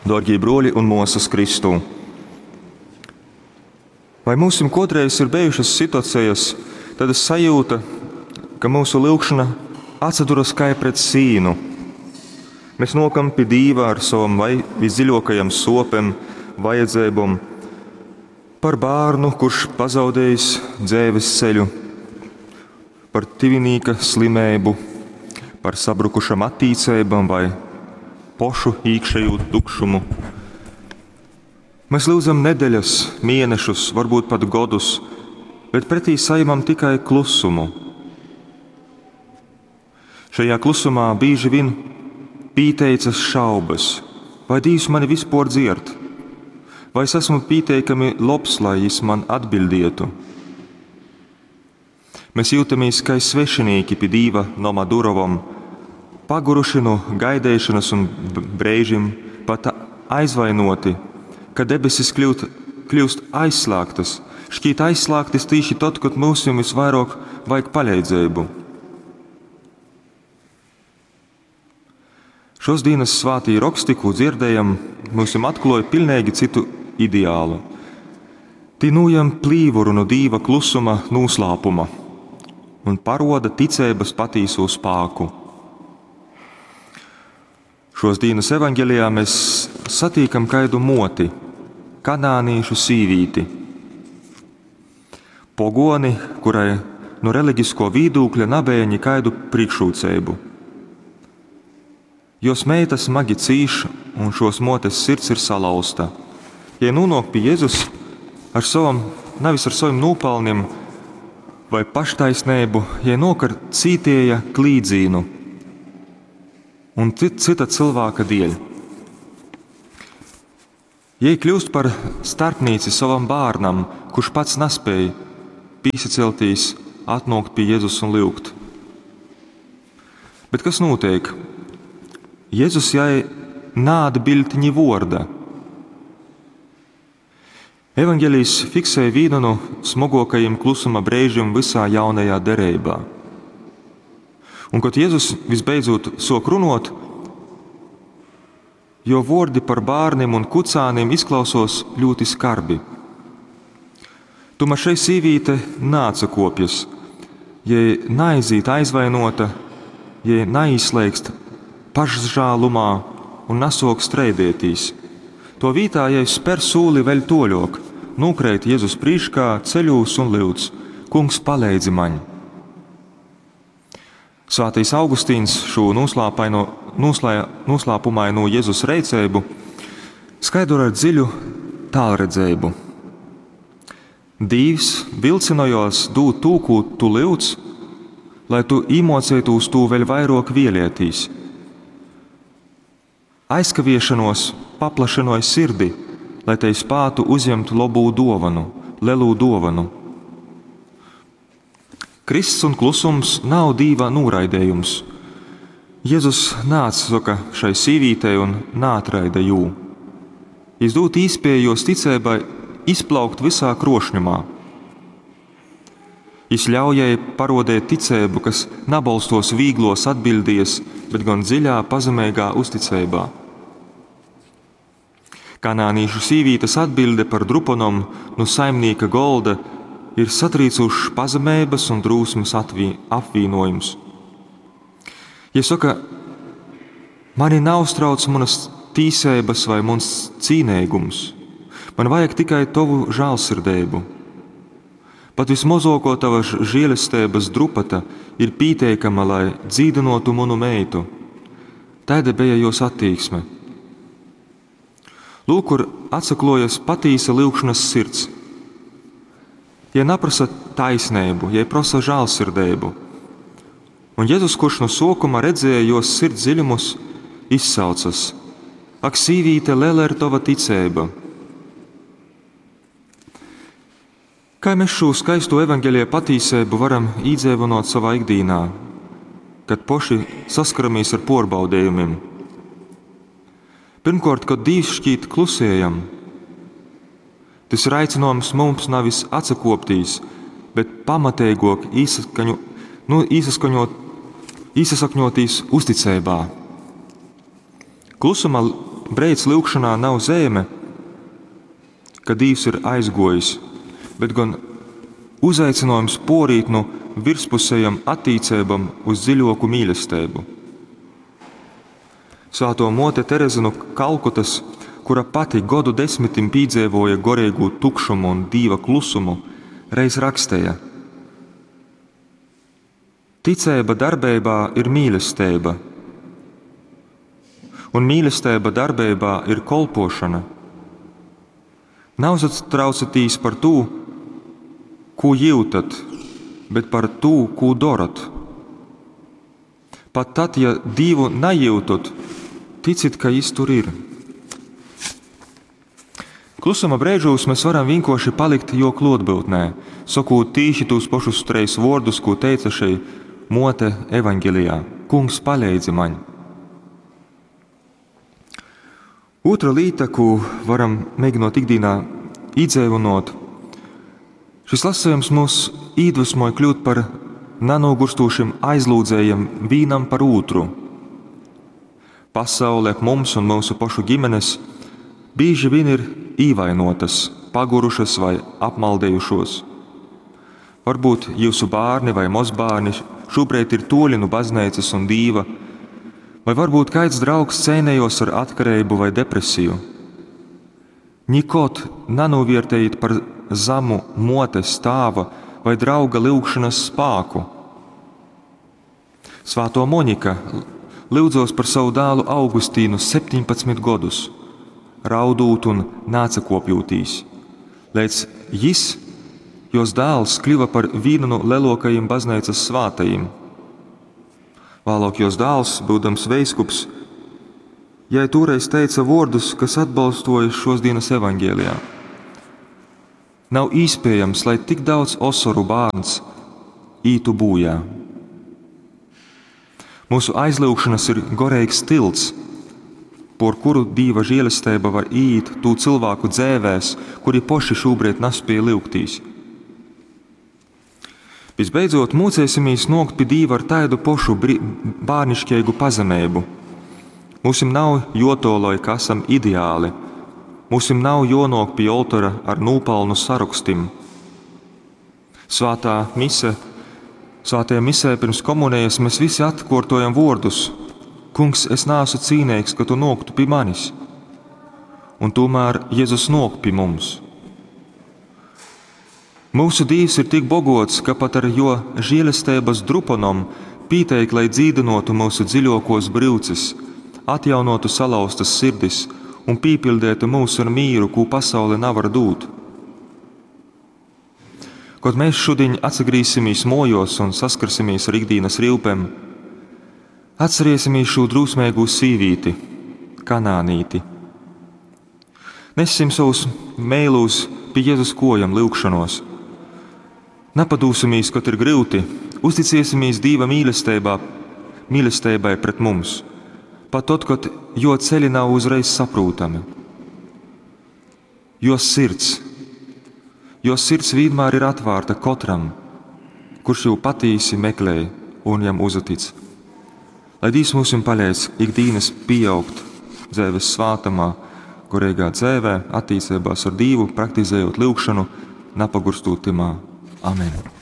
Dōrgī brōļi un mōsas Kristū! Vai myusim kōdreiz ir bejušas situacejas, taida sajūta, ka myusu lyugšona atsaduras kai pret sīnu? Mēs nōkam pi Dīva ar savom vai visdziļōkajam sōpem, vajadzeibom, par bārnu, kurš pazaudējis dzeives ceļu, par tyvinīka slimeibu, par sabrukušam attīceibam vai pošu īkšejū tukšumu. Mēs lyudzam nedeļas, mienešus, varbūt pat godus, bet pretī sajemam tikai klusumu. Šajā klusumā bīži vien pīteicas šaubas, vai Dīvs mani vispār dzierd, vai es esmu pīteikami lobs, lai jis man atbildietu. Mēs jūtamies kai svešinīki pi Dīva noma durovom, paguruši nu gaideišonas un breižim pat aizvainoti, ka debesis kļūst aizslēgtas, šķīt aizslēgtas tīši tod, kod myusim visvairāk vajag paleidzeibu. Šos dienas svātī roksti, ko dzirdējam, myusim atklāja pilnīgi citu ideālu. Tī nūjam plīvuru no Dīva klusuma noslēpuma un paroda ticeibas patīso spāku. Šos dienas evaņgelijā mēs satīkam kaidu moti, kanānīšu sīvīti. Pogoni, kurai no reliģisko vīdūkļa nabeja nekaidu priekšrocību. Jos meita smagi cīš, un šos motes sirds ir salauzta. Ja nonāk pie Jēzus ar savam, nevis ar saviem nopelniem vai paštaisnību, ja nok ar cītēja klīdzīnu un cita cilvēka dēļ. Jei kļūst par starpnīci savam bērnam, kurš pats nespēja pīsaceltīs, atnākt pie Jēzus un lyugt. Bet kas notiek? Jēzus jai naatbild ni vorda. Evanģelijs fiksē vienu no smagākajiem klusuma brīžiem visā jaunajā derībā. Un, kad Jēzus visbeidzot sok runot, jo vordi par bērniem un kucāniem izklausos ļoti skarbi. Tomēr šai sīvīte nāca kopjas, ja naizīt aizvainota, ja neizslēgst pašžālumā un nesok streidētīs. To vītā, ja spēr sūli vēl toļok, nūkreit Jēzus prīškā ceļūs un lyudz: Kungs, paleidzi maņ! Svētais Augustīns šo noslēpumaino Jēzus reiceibu skaidro ar dziļu tālredzējumu. Dīvs vilcinojos dūt tū, ko tu lyudz, lai tu īmocētos tū vēl vairāk vielietīs. Aizkaviešanos paplašinoja sirdi, lai te spātu uzņemt lobū dovanu, lelū dovanu. Krists un klusums nav Dīva noraidījums. Jēzus nāca šai sīvītei un nātraida jū. Jis dūt īspēju jos ticībai izplaukt visā krošņumā. Jis ļauj jai parodēt ticību, kas nabolstos vīglos atbildies, bet gan dziļā, pazemīgā uzticībā. Kanānīšu sīvītes atbilde par drupanom no saimnieka golda ir satrīcušs pazemības un drūsmes apvienojums. Ja saka, mani neuztrauc manas tīsības vai mans cīnīgums, man vajag tikai tavu žēlsirdību. Pat vismazāko tava žēlestības drupata ir pieteikama, lai dzīdinotu manu meitu. Tāda bija jos attieksme. Lūk, kur atsaklojas patīsa lyugšanas sirds. Ja neprasa taisnību, ja prasa žēlsirdību. Un Jēzus, kurš no sākuma redzēja jos sirds dziļumus, izsaucas: Ak, sīvīte, lela ir tava ticība! Kā mēs šo skaisto evaņģēlija patīsību varam īdzēvinot savā ikdienā, kad poši saskaramies ar porbaudījumiem? Pirmkārt, kad Dievs šķiet klusējam, tas ir aicinājums mums nevis atsakoptīs, bet pamatīgāk īsasakņotīs uzticībā. Klusuma breids lyugšonā nav zeime, ka Dīvs ir aizguojis, bet gon uzaicinojums puorīt nu virspusejom attīceibom uz dziļuoku mīlesteibu. Svātuo muote Tereze nu Kalkutys, kura pati godu desmitim pīdzeivuoja goreigū tukšumu un Dīva klusumu, reiz raksteja: Ticeiba darbeibā ir mīlesteiba, un mīlesteiba darbeibā ir kolpošana. Nauzatraucatīs par tū, kū jyutat, bet par tū, kū dorat. Pat tad, ja Dīvu najyutat, ticit, ka Jis tur ir. Klusuma breižūs mēs varam vienkārši palikt jo klotbūtnē, sokūt tīši tūs pošus treis vōrdus, kū teica šei muote evaņgelijā: Kungs, paleidzi maņ! Ūtra līta, kū varam mēģinot ikdienā īdzeivynot, šis lasījums mūs īdvesmoja kļūt par nanogurstošiem aizlūdzējiem vīnam par ūtru. Pasaule ap mums un mūsu pašu ģimenes bieži vien ir īvainotas, pagurušas vai apmaldējušos. Varbūt jūsu bērni vai mozbērni šobrīd ir toļi no baznīcas un dīva, vai varbūt kāds draugs cēnējos ar atkarību vai depresiju. Nikod nanovērtējiet par zemu motes, tāva vai drauga lyugšanas spāku. Svāto Monika lyudzos par savu dēlu Augustīnu 17 godus, raudūt un nācakopjūtīs, līdz jis, jos dēls, kļuva par vienu no lielākajiem baznīcas svātajiem. Vēlāk jos dēls, būdams veiskups, jai toreiz teica vārdus, kas atbalstoja šos dienas evaņgēlijā. Nav iespējams, lai tik daudz osoru bērns ītu bojā. Mūsu aizlūgšanas ir gorīgs tilts, por kuru Dīva žēlastība var iet tū cilvēku dzēvēs, kuri poši šobrīd nespēja lyugtīs. Visbeidzot, mūcēsimies nokt pie Dīva ar tādu pošu bērnišķīgu pazemību. Mūsim nav jotoloj, ka esam ideāli. Mūsim nav jonok pie oltora ar nūpalnu sarakstim. Svātā mise, svātajā misē pirms komunijas mēs visi atkārtojam vārdus: Kungs, es neesmu cīnīgs, ka tu noktu pie manis. Un tomēr Jēzus nok pie mums. Mūsu Dievs ir tik bogots, ka pat ar jo žēlestības drupanom pieteik, lai dzīdinotu mūsu dziļākos brūces, atjaunotu salauztas sirdis un pīpildētu mūs ar mīru, ko pasaule nevar dūt. Kad mēs šodien atsagrīsimies mojos un saskarsimies ar ikdienas rīpēm, atcerēsimies šo drūsmīgo sīvīti, kanānīti. Nessim savus mēlus pie Jēzus kojam lūgšanos. Napadūsimies, kad ir grūti, uzticēsimies Dieva mīlestībā, mīlestībai pret mums, pat tad, kad jo ceļi nav uzreiz saprotami. Jo sirds, jo sirds vienmēr ir atvērta katram, kurš jau patīsi meklē un jam uzatic. Lai Dievs mums palīdz ikdienas pieaugt dzīves svātamā, gorīgā dzīvē, attīstībās ar Dievu, praktizējot lūgšanu, napagurstot timā. Amen!